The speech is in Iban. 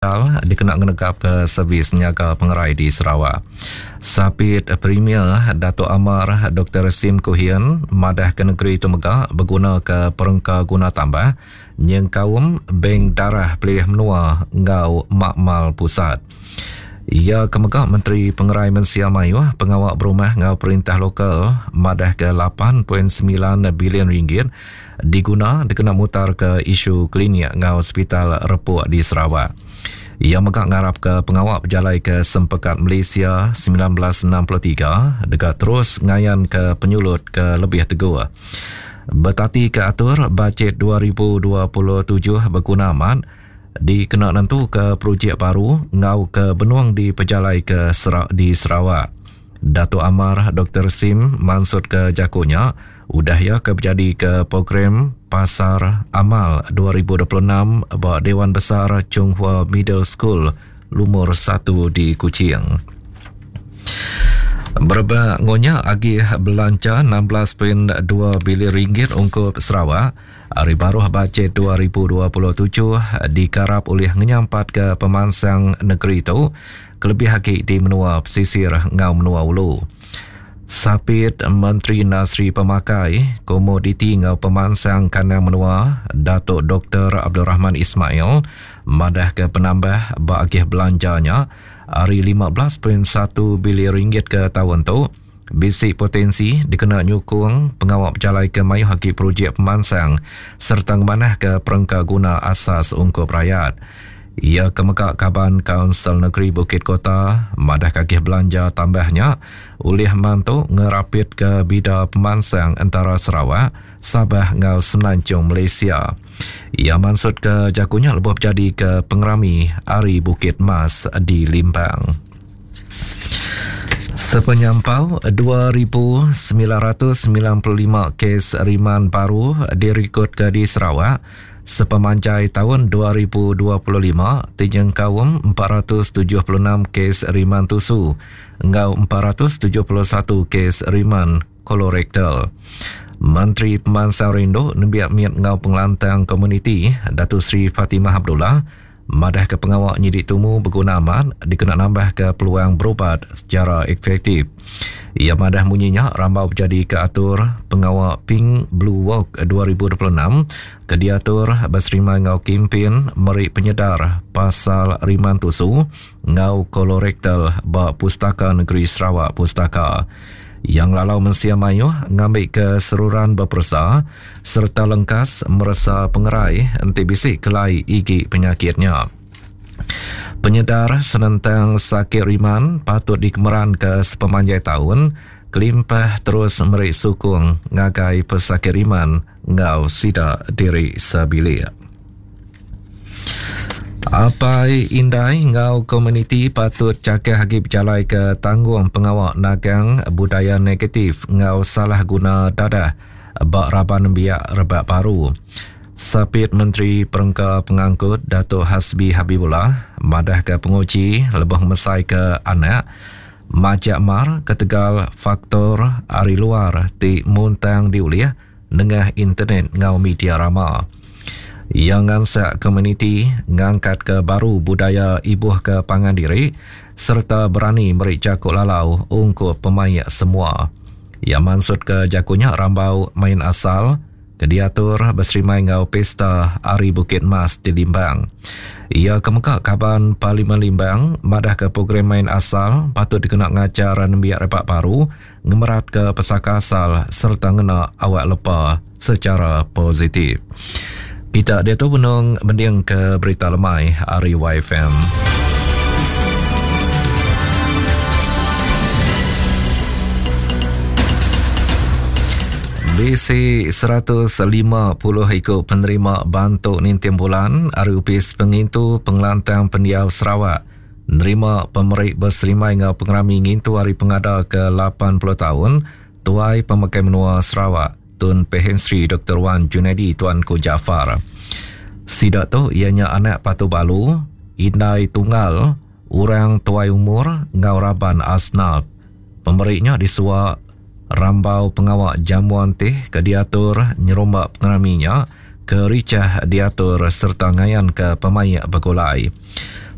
Digital dikena ngenegapka servis nyaga pengerai di Sarawak. Sapit Premier Datuk Amar Doktor Sim Kui Hian madahka negeri itu mega begunaka perengka guna tambah nyengkaum Bank Darah Pelilih Menua enggau Makmal Pusat. Iya ke mega Menteri Pengerai Mensia Mayuh, Pengawa Berumah enggau Perintah Lokal madahka 8.9 bilion ringgit diguna dikena mutarka isu klinik enggau sepital repuk di Sarawak. Iya mega ngarapka pengawa bejalaika Sempekat Malaysia 1963 deka terus ngayanka penyulut ke lebih teguh. Betatika atur Bajet 2027 beguna amat, dikena nentuka projek baru enggau ke benung dipejalaika di Sarawak. Datuk Amar Doktor Sim mansutka jaku nya udah iya ke bejadika program Pasar Amal 2026 ba Dewan Besar Chung Hua Middle School Lumur satu di Kuching. Berebak enggau nya agih belanja 16.2 bilion ringgit ungkup Sarawak Ari baruh Bajet 2027 dikarap ulih ngenyampatka pemansang negeri tu kelebih agi di menua pesisir enggau menua ulu. Sapit Menteri Industri Pemakai, Komoditi enggau Pemansang Kandang Menua Datuk Doktor Abdul Rahman Ismail madahka penambah ba agih belanja nya ari 15.1 bilion ringgit ke taun tu Bisi potensi dikena nyukung pengawa bejalaika mayuh agi projek pemansang sereta ngemanahka perengka guna asas ungkup rayat. Iya ke mega kaban Kaunsil Negeri Bukit Kota madahka agih belanja tambah nya ulih mantu ngerapitka bida pemansang entara Sarawak, Sabah enggau Semenanjung Malaysia. Iya mansutka jaku nya lebuh bejadika pengerami Hari Bukit Mas di Limbang. Sepenyampau 2,995 kes riman baru dirikodka di Sarawak sepemanjai taun 2025 ti nyengkaum 476 kes riman tusu enggau 471 kes riman kolorektal. Menteri Pemansang Rindu Nembiak Mit enggau Pengelantang Komuniti Datuk Seri Fatimah Abdullah Madahka pengawa nyidi tumu beguna amat dikena nambahka peluang berubat sechara efektif. Iya madah munyi nya rambau bejadika atur pengawa Pink Blue Walk 2026 ke diatur beserimbai enggau kimpin meri penyedar pasal riman tusu enggau kolorektal ba Pustaka Negeri Sarawak Pustaka. Iya ngelalau mensia mayuh ngambika seruran beperesa sereta lengkas meresa pengerai enti bisi kelai igi penyakit nya. Penyedar senentang sakit riman patut dikemeranka sepemanjai taun kelimpah terus meri sukung ngagai pesakit riman enggau sida diri sebilik. Apai indai enggau komuniti patut chakah agi bejalaika tanggung pengawa nagang budaya negatif enggau salah guna dadah ba raban nembiak rebak baru. Sapit Menteri Perengka Pengangkut Datuk Hasbi Habibullah madahka penguji lebuh ngemesaika anak majak mar ketegal faktor ari luar ti muntang diulih nengah internet enggau media rama. Iya ngansak komuniti ngangkatka baru budaya ibuhka pangan diri sereta berani meri jaku lalau ungkup pemaik semua. Iya mansutka jaku nya rambau main asal ke diatur beserimai enggau Pesta Hari Bukit Mas di Limbang. Iya ke mega Kaban Parlimen Limbang madahka program main asal patut dikena ngajar nembiak rebak baru ngemeratka pesaka asal sereta ngena awak lepa sechara positif. Kita diatu benung mendingka berita lemai ari YFM. Bisi 150 iku penerima bantu ninting bulan ari Opis Pengintu Pengelantang Pendiau Sarawak Nerima pemeri beserimbai enggau pengerami ngintu Hari Pengada ke 80 taun, Tuai Pemakai Menua Sarawak, Tun Pehin Sri Doktor Wan Junaidi Tuanku Jaafar. Sida tu iya nya anak patu balu, indai tunggal, orang tuai umur enggau raban asnaf. Pemeri nya disua rambau pengawa jamuan teh ke diatur nyerumba pengerami nya ke richah diatur sereta ngayanka pemaik begulai.